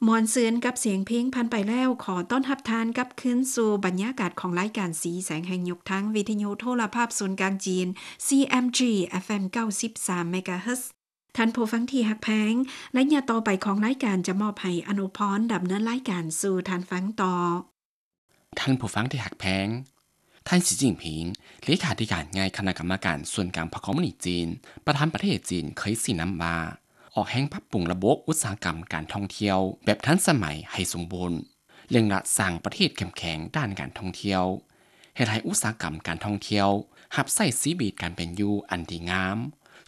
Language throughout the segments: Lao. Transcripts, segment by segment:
ມ່ວນຊື່ນກັບສຽງເພງຜ່ານໄປແລ້ວ, ຂໍຕ້ອນຮັບທ່ານກັບຄືນສູ່ບັນຍາກາດຂອງລາຍການສີແສງແຫ່ງຍຸກ ທາງວິທະຍຸໂທລະພາບສູນກາງຈີນ ຊີເອັມຈີ ເອັຟເອັມ ເກົ້າສິບສາມ ເມກາເຮີດ. ທ່ານຜູ້ຟັງທີ່ຮັກແພງ, ໄລຍະຕໍ່ໄປຂອງລາຍການຈະມອບໃຫ້ອະນຸພອນດຳເນີນລາຍການສູ່ທ່ານຟັງຕໍ່. ທ່ານຜູ້ຟັງທີ່ຮັກແພງ, ທ່ານ ສີຈິ້ນຜິງ ເລຂາທິການໃຫຍ່ຄະນະກຳມະການສູນກາງພັກຄອມມູນິດຈີນ ປະທານປະເທດຈີນ ເຄີຍຊີ້ນຳວ່າ ອອກແຮງປັບປຸງລະບົບອຸດສາຫະກຳການທ່ອງທ່ຽວແບບທັນສະໄໝໃຫ້ສົມບູນ, ເລັ່ງລັດສ້າງປະເທດເຂັ້ມແຂງດ້ານການທ່ອງທ່ຽວ, ເຮັດໃຫ້ອຸດສາຫະກຳການທ່ອງທ່ຽວຮັບໃຊ້ຊີວິດການເປັນຢູ່ອັນດີງາມ,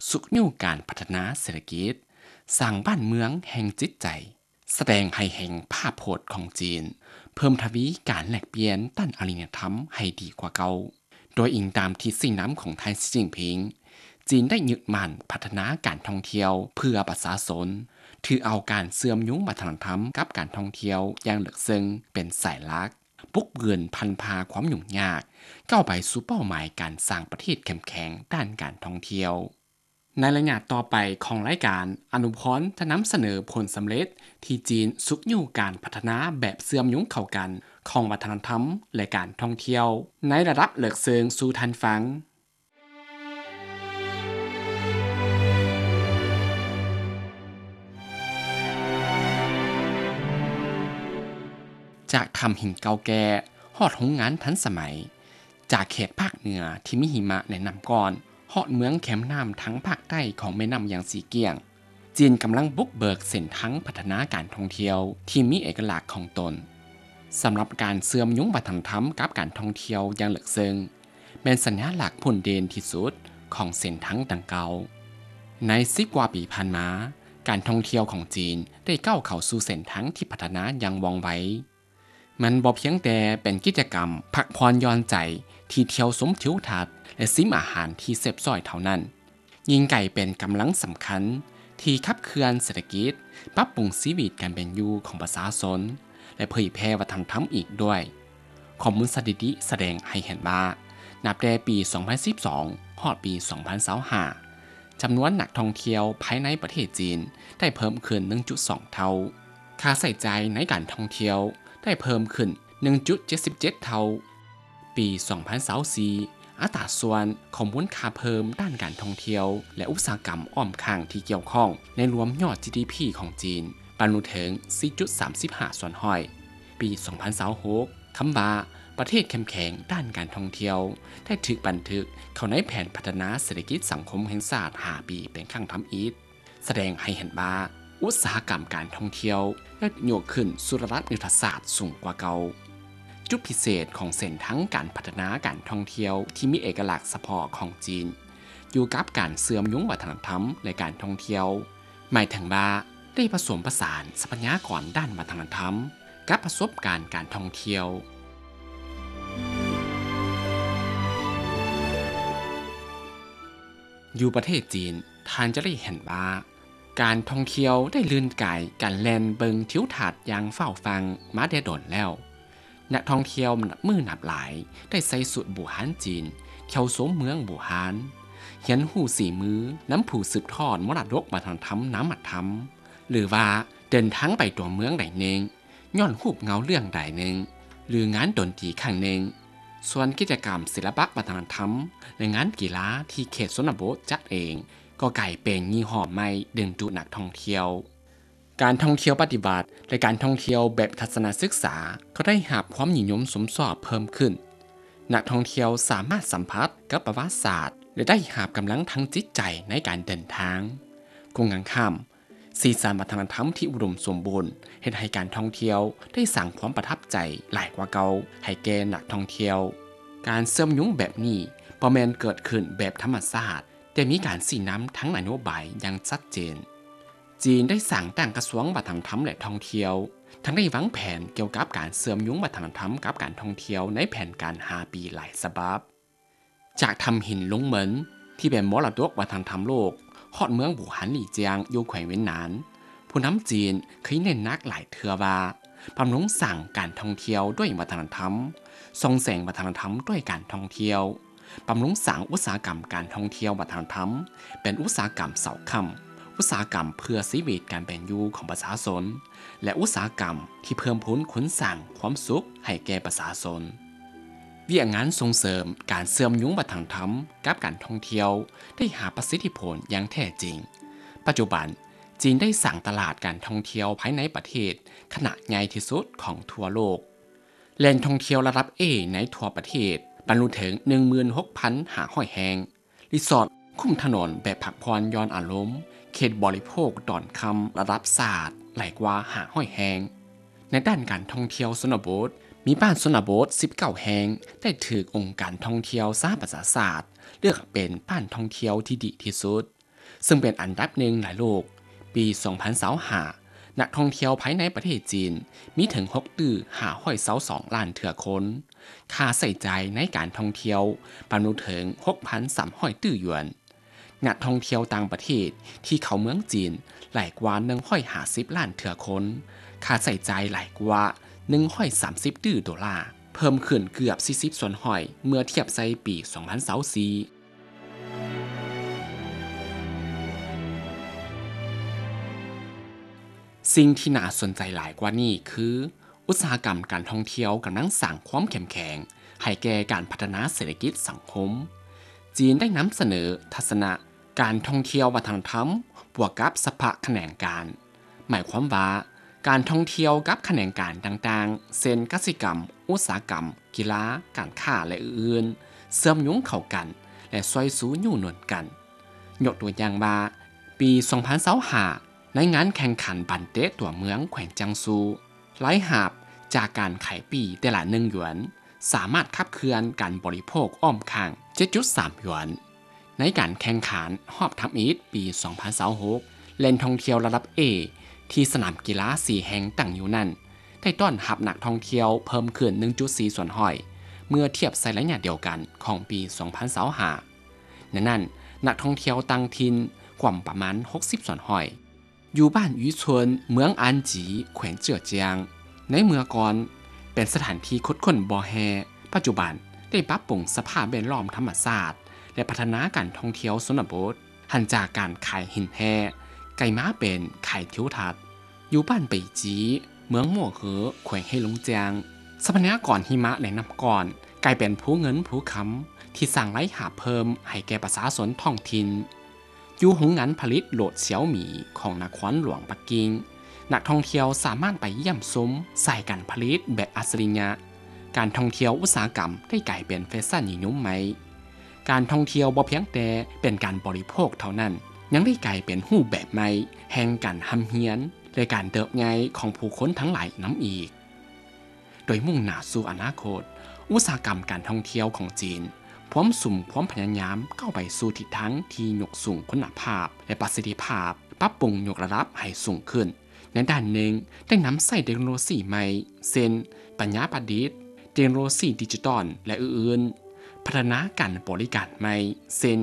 ຊຸກຍູ້ການພັດທະນາເສດຖະກິດ, ສ້າງບ້ານເມືອງແຫ່ງຈິດໃຈ. ສະແດງໃຫ້ເຫັນພາບພົດຂອງຈີນ ເພີ່ມທະວີການແລກປ່ຽນດ້ານອາລິຍະທຳໃຫ້ດີກວ່າເກົ່າ. ໂດຍອີງຕາມທິດຊີ້ນຳຂອງທ່ານ ສີຈິ້ນຜິງ, ຈີນໄດ້ຍຶດໝັ້ນພັດທະນາການທ່ອງທ່ຽວເພື່ອປະຊາຊົນ, ຖືເອົາການເຊື່ອມໂຍງວັດທະນະທຳກັບການທ່ອງທ່ຽວຢ່າງເລິກເຊິ່ງເປັນສາຍຫຼັກ, ປຸກບືນພັນພາຄວາມຫຍຸ້ງຍາກ, ກ້າວໄປສູ່ເປົ້າໝາຍການສ້າງປະເທດເຂັ້ມແຂງດ້ານການທ່ອງທ່ຽວ. ໃນໄລຍະຕໍ່ໄປຂອງລາຍການ, ອະນຸພອນຈະນຳສະເໜີຜົນສຳເລັດທີ່ຈີນຊຸກຍູ້ການພັດທະນາແບບເຊື່ອມໂຍງເຂົ້າກັນຂອງວັດທະນະທຳ ແລະ ການທ່ອງທ່ຽວໃນລະດັບເລິກເຊິ່ງສູ່ທ່ານຟັງ. ຈາກຖ້ຳຫີນເກົ່າແກ່ຮອດໂຮງງານທັນສະໄໝ, ຈາກເຂດພາກເໜືອທີ່ມີຫິມະ ແລະ ນ້ຳກ້ອນ ຮອດເມືອງແຄມນ້ຳທາງພາກໃຕ້ຂອງແມ່ນ້ຳຫຍາງສີກ້ຽງ, ຈີນກຳລັງບຸກເບີກເສັ້ນທາງພັດທະນາການທ່ອງທ່ຽວທີ່ມີເອກະລັກຂອງຕົນ. ສຳລັບການເຊື່ອມໂຍງວັດທະນະທຳກັບການທ່ອງທ່ຽວຢ່າງເລິກເຊິ່ງ ແມ່ນສັນຍາລັກພົ້ນເດັ່ນທີ່ສຸດຂອງເສັ້ນທາງດັ່ງກ່າວ. ໃນສິບກວ່າປີຜ່ານມາ, ການທ່ອງທ່ຽວຂອງຈີນໄດ້ກ້າວເຂົ້າສູ່ເສັ້ນທາງທີ່ພັດທະນາຢ່າງວ່ອງໄວ. ມັນບໍ່ພຽງແຕ່ເປັນກິດຈະກຳພັກຜ່ອນຢ່ອນໃຈທີ່ທ່ຽວຊົມທິວທັດ ແລະ ຊິມອາຫານທີ່ແຊບຊ້ອຍເທົ່ານັ້ນ, ຍິ່ງກາຍເປັນກຳລັງສຳຄັນທີ່ຂັບເຄື່ອນເສດຖະກິດ, ປັບປຸງຊີວິດການເປັນຢູ່ຂອງປະຊາຊົນ ແລະ ເຜີຍແຜ່ວັດທະນະທຳອີກດ້ວຍ. ຂໍ້ມູນສະຖິຕິສະແດງໃຫ້ເຫັນວ່າ, ນັບແຕ່ປີສອງພັນສິບສອງ ຮອດປີສອງພັນຊາວຫ້າ ຈຳນວນນັກທ່ອງທ່ຽວພາຍໃນປະເທດຈີນໄດ້ເພີ່ມຂຶ້ນໜຶ່ງຈຸດສອງເທົ່າ, ຄ່າໃຊ້ຈ່າຍໃນການທ່ອງທ່ຽວໄດ້ເພີ່ມຂຶ້ນໜຶ່ງຈຸດເຈັດສິບເຈັດເທົ່າ. ປີສອງພັນຊາວສີ່ ອັດຕາສ່ວນຂອງມູນຄ່າເພີ່ມດ້ານການທ່ອງທ່ຽວ ແລະ ອຸດສາຫະກຳອ້ອມຂ້າງທີ່ກ່ຽວຂ້ອງໃນລວມຍອດ ຈີ ດີ ພີ ຂອງຈີນ ບັນລຸເຖິງສີ່ຈຸດສາມສິບຫ້າສ່ວນຮ້ອຍ. ປີສອງພັນຊາວຫົກ ຄຳວ່າປະເທດເຂັ້ມແຂງດ້ານການທ່ອງທ່ຽວ ໄດ້ຖືກບັນທຶກເຂົ້າໃນແຜນພັດທະນາເສດຖະກິດສັງຄົມແຫ່ງຊາດຫ້າປີເປັນຄັ້ງທຳອິດ, ສະແດງໃຫ້ເຫັນວ່າອຸດສາຫະກຳການທ່ອງທ່ຽວໄດ້ຍົກຂຶ້ນສູ່ລະດັບຍຸດທະສາດສູງກວ່າເກົ່າ. ຈຸດພິເສດຂອງເສັ້ນທາງການພັດທະນາການທ່ອງທ່ຽວທີ່ມີເອກະລັກສະເພາະຂອງຈີນ ຢູ່ກັບການເຊື່ອມໂຍງວັດທະນະທຳ ແລະ ການທ່ອງທ່ຽວ, ໝາຍເຖິງວ່າໄດ້ປະສົມປະສານຊັບພະຍາກອນດ້ານວັດທະນະທຳກັບປະສົບການການທ່ອງທ່ຽວ. ຢູ່ປະເທດຈີນ, ທ່ານຈະໄດ້ເຫັນວ່າ ການທ່ອງທ່ຽວໄດ້ລື່ນກາຍການແລ່ນເບິ່ງທິວທັດຢ່າງຟ້າວຟັ່ງມາແຕ່ດົນແລ້ວ. ນັກທ່ອງທ່ຽວນັບມື້ນັບຫຼາຍໄດ້ໃສ່ຊຸດບູຮານຈີນ, ທ່ຽວຊົມເມືອງບູຮານ, ຮຽນຮູ້ສີມືນຳຜູ້ສືບທອດມໍລະດົກວັດທະນະທຳນາມະທຳ, ຫຼືວ່າເດີນທາງໄປຕົວເມືອງໃດໜຶ່ງ ຍ້ອນຮູບເງົາເລື່ອງໃດໜຶ່ງ ຫຼືງານດົນຕີຄັ້ງໜຶ່ງ. ສ່ວນກິດຈະກຳສິລະປະວັດທະນະທຳ ແລະ ງານກິລາທີ່ເຂດຊົນນະບົດຈັດເອງ ກໍກາຍເປັນຍີ່ຫໍ້ໃໝ່ດຶງດູດນັກທ່ອງທ່ຽວ. ການທ່ອງທ່ຽວປະຕິບັດ ແລະ ການທ່ອງທ່ຽວແບບທັດສະນະສຶກສາ ກໍໄດ້ຮັບຄວາມນິຍົມຊົມຊອບເພີ່ມຂຶ້ນ. ນັກທ່ອງທ່ຽວສາມາດສຳຜັດກັບປະຫວັດສາດ ແລະ ໄດ້ຮັບກຳລັງທາງຈິດໃຈໃນການເດີນທາງ. ກົງກັນຂ້າມ, ສີສັນວັດທະນະທຳທີ່ອຸດົມສົມບູນ ເຮັດໃຫ້ການທ່ອງທ່ຽວໄດ້ສ້າງຄວາມປະທັບໃຈຫຼາຍກວ່າເກົ່າໃຫ້ແກ່ນັກທ່ອງທ່ຽວ. ການເຊື່ອມໂຍງແບບນີ້ບໍ່ແມ່ນເກີດຂຶ້ນແບບທຳມະຊາດ, ແຕ່ມີການຊີ້ນຳທາງນະໂຍບາຍຢ່າງຊັດເຈນ. ຈີນໄດ້ສ້າງຕັ້ງກະຊວງວັດທະນະທຳ ແລະ ທ່ອງທ່ຽວ, ທັງໄດ້ວາງແຜນກ່ຽວກັບການເຊື່ອມໂຍງວັດທະນະທຳກັບການທ່ອງທ່ຽວໃນແຜນການຫ້າປີຫຼາຍສະບັບ. ຈາກຖ້ຳຫີນຫຼົງເໝິນ ທີ່ເປັນມໍລະດົກວັດທະນະທຳໂລກ, ຮອດເມືອງບູຮານຫຼີຈຽງ ຢູ່ແຂວງຫວຽນໜານ, ຜູ້ນຳຈີນເຄີຍເນັ້ນໜັກຫຼາຍເທື່ອວ່າ ບຳລຸງສ້າງການທ່ອງທ່ຽວດ້ວຍວັດທະນະທຳ, ສ່ອງແສງວັດທະນະທຳດ້ວຍການທ່ອງທ່ຽວ, ບຳລຸງສ້າງອຸດສາຫະກຳການທ່ອງທ່ຽວວັດທະນະທຳ ເປັນອຸດສາຫະກຳເສົາຄ້ຳ, ອຸດສາຫະກຳເພື່ອຊີວິດການເປັນຢູ່ຂອງປະຊາຊົນ ແລະ ອຸດສາຫະກຳທີ່ເພີ່ມພູນຂຸນສ້າງຄວາມສຸກໃຫ້ແກ່ປະຊາຊົນ. ວຽກງານສົ່ງເສີມການເຊື່ອມໂຍງວັດທະນະທຳກັບການທ່ອງທ່ຽວໄດ້ຮັບປະສິດທິຜົນຢ່າງແທ້ຈິງ. ປັດຈຸບັນ, ຈີນໄດ້ສ້າງຕະຫຼາດການທ່ອງທ່ຽວພາຍໃນປະເທດຂະໜາດໃຫຍ່ທີ່ສຸດຂອງທົ່ວໂລກ. ແຫຼ່ງທ່ອງທ່ຽວລະດັບ A ໃນທົ່ວປະເທດບັນລຸເຖິງ ໜຶ່ງໝື່ນຫົກພັນຫ້າຮ້ອຍແຫ່ງ. ຣີສອດຄຸ້ມຖະໜົນແບບພັກຜ່ອນຢ່ອນອາລົມ ເຂດບໍລິໂພກຕອນຄ່ຳລະດັບຊາດຫຼາຍກວ່າຫ້າຮ້ອຍແຫ່ງ. ໃນດ້ານການທ່ອງທ່ຽວຊົນນະບົດ, ມີບ້ານຊົນນະບົດສິບເກົ້າແຫ່ງ ໄດ້ຖືກອົງການທ່ອງທ່ຽວສະຫະປະຊາຊາດເລືອກເປັນບ້ານທ່ອງທ່ຽວທີ່ດີທີ່ສຸດ, ເຊິ່ງເປັນອັນດັບໜຶ່ງໃນໂລກ. ປີສອງພັນຊາວຫ້າ ນັກທ່ອງທ່ຽວພາຍໃນປະເທດຈີນມີເຖິງຫົກຕື້ຫ້າຮ້ອຍຊາວສອງລ້ານເທື່ອຄົນ. ຄ່າໃຊ້ຈ່າຍໃນການທ່ອງທ່ຽວບັນລຸເຖິງຫົກພັນສາມຮ້ອຍຕື້ຢວນ. ນັກທ່ອງທ່ຽວຕ່າງປະເທດທີ່ເຂົ້າເມືອງຈີນຫຼາຍກວ່າໜຶ່ງຮ້ອຍຫ້າສິບລ້ານເທື່ອຄົນ. ຄ່າໃຊ້ຈ່າຍຫຼາຍກວ່າໜຶ່ງຮ້ອຍສາມສິບຕື້ໂດລາ, ເພີ່ມຂຶ້ນເກືອບສີ່ສິບສ່ວນຮ້ອຍເມື່ອທຽບໃສ່ປີສອງພັນຊາວສີ່. ສິ່ງທີ່ໜ້າສົນໃຈຫຼາຍກວ່ານີ້ຄື ອຸດສາຫະກຳການທ່ອງທ່ຽວກຳລັງສ້າງຄວາມເຂັ້ມແຂງໃຫ້ແກ່ການພັດທະນາເສດຖະກິດສັງຄົມ. ຈີນໄດ້ນຳສະເໜີທັດສະນະການທ່ອງທ່ຽວວັດທະນະທຳ ບວກກັບສະພະຂະແໜງການ. ໝາຍຄວາມວ່າ ການທ່ອງທ່ຽວກັບຂະແໜງການຕ່າງໆ ເຊັ່ນ ກະສິກຳ, ອຸດສາຫະກຳ, ກິລາ, ການຄ້າ ແລະ ອື່ນໆ ເຊື່ອມໂຍງເຂົ້າກັນ ແລະ ຊ່ວຍຊູຍູ້ໜູນກັນ. ຍົກຕົວຢ່າງວ່າ, ປີສອງພັນຊາວຫ້າ ໃນງານແຂ່ງຂັນບານເຕະຕົວເມືອງແຂວງຈຽງຊູ, ລາຍຮັບຈາກການຂາຍປີ້ແຕ່ລະໜຶ່ງຢວນ ສາມາດຂັບເຄື່ອນການບໍລິໂພກອ້ອມຂ້າງເຈັດຈຸດສາມຢວນ. ໃນການແຂ່ງຂັນຮອບທຳອິດປີສອງພັນຊາວຫົກ ແຫຼ່ງທ່ອງທ່ຽວລະດັບ A ທີ່ສະໜາມກິລາສີ່ແຫ່ງຕັ້ງຢູ່ນັ້ນ ໄດ້ຕ້ອນຮັບນັກທ່ອງທ່ຽວເພີ່ມຂຶ້ນໜຶ່ງຈຸດສີ່ສ່ວນຮ້ອຍ ເມື່ອທຽບໃສ່ໄລຍະດຽວກັນຂອງປີສອງພັນຊາວຫ້າ. ໃນນັ້ນ, ນັກທ່ອງທ່ຽວຕ່າງຖິ່ນກວມປະມານຫົກສິບສ່ວນຮ້ອຍ. ຢູ່ບ້ານອີຊວນ ເມືອງອານຈີ ແຂວງເຈີອຈຽງ. ໃນເມື່ອກ່ອນເປັນສະຖານທີ່ຂຸດຄົ້ນບໍ່ແຮ່, ປັດຈຸບັນໄດ້ປັບປຸງສະພາບແວດລ້ອມທຳມະຊາດ ແລະ ພັດທະນາການທ່ອງທ່ຽວຊົນນະບົດ, ຫັນຈາກການຂາຍຫີນແຮ່ ກາຍມາເປັນຂາຍທິວທັດ. ຢູ່ບ້ານໄປຈີ ເມືອງມົວເຫີ ແຂວງເຮຫຼົງຈຽງ, ຊັບພະຍາກອນຫິມະ ແລະ ນ້ຳກ້ອນ ກາຍເປັນພູເງິນພູຄຳ ທີ່ສ້າງລາຍຮັບເພີ່ມໃຫ້ແກ່ປະຊາຊົນທ້ອງຖິ່ນ. ຢູ່ໂຮງງານຜະລິດລົດຊຽວໝີຂອງນະຄອນຫຼວງປັກກິ່ງ, ນັກທ່ອງທ່ຽວສາມາດໄປຢ້ຽມຊົມສາຍການຜະລິດແບບອັດສະລິຍະ. ການທ່ອງທ່ຽວອຸດສາຫະກຳໄດ້ກາຍເປັນແຟຊັນນິຍົມໃໝ່. ການທ່ອງທ່ຽວບໍ່ພຽງແຕ່ເປັນການບໍລິໂພກເທົ່ານັ້ນ, ຍັງໄດ້ກາຍເປັນຮູບແບບໃໝ່ແຫ່ງການຮ່ຳຮຽນ ແລະ ການເຕີບໃຫຍ່ຂອງຜູ້ຄົນທັງຫຼາຍນຳອີກ. ໂດຍມຸ່ງໜ້າສູ່ອະນາຄົດ, ອຸດສາຫະກຳການທ່ອງທ່ຽວຂອງຈີນ ພວມສຸມຄວາມພະຍາຍາມກ້າວໄປສູ່ທິດທາງທີ່ຍົກສູງຄຸນນະພາບ ແລະ ປະສິດທິພາບ, ປັບປຸງຍົກລະດັບໃຫ້ສູງຂຶ້ນ. ໃນດ້ານໜຶ່ງ, ໄດ້ນຳໃຊ້ເຕັກໂນໂລຊີໃໝ່ ເຊັ່ນ ປັນຍາປະດິດ, ເຕັກໂນໂລຊີດິຈິຕອນ ແລະ ອື່ນໆ, ພັດທະນາການບໍລິການໃໝ່ ເຊັ່ນ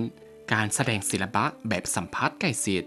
ການສະແດງສິລະປະແບບສຳຜັດໃກ້ຊິດ,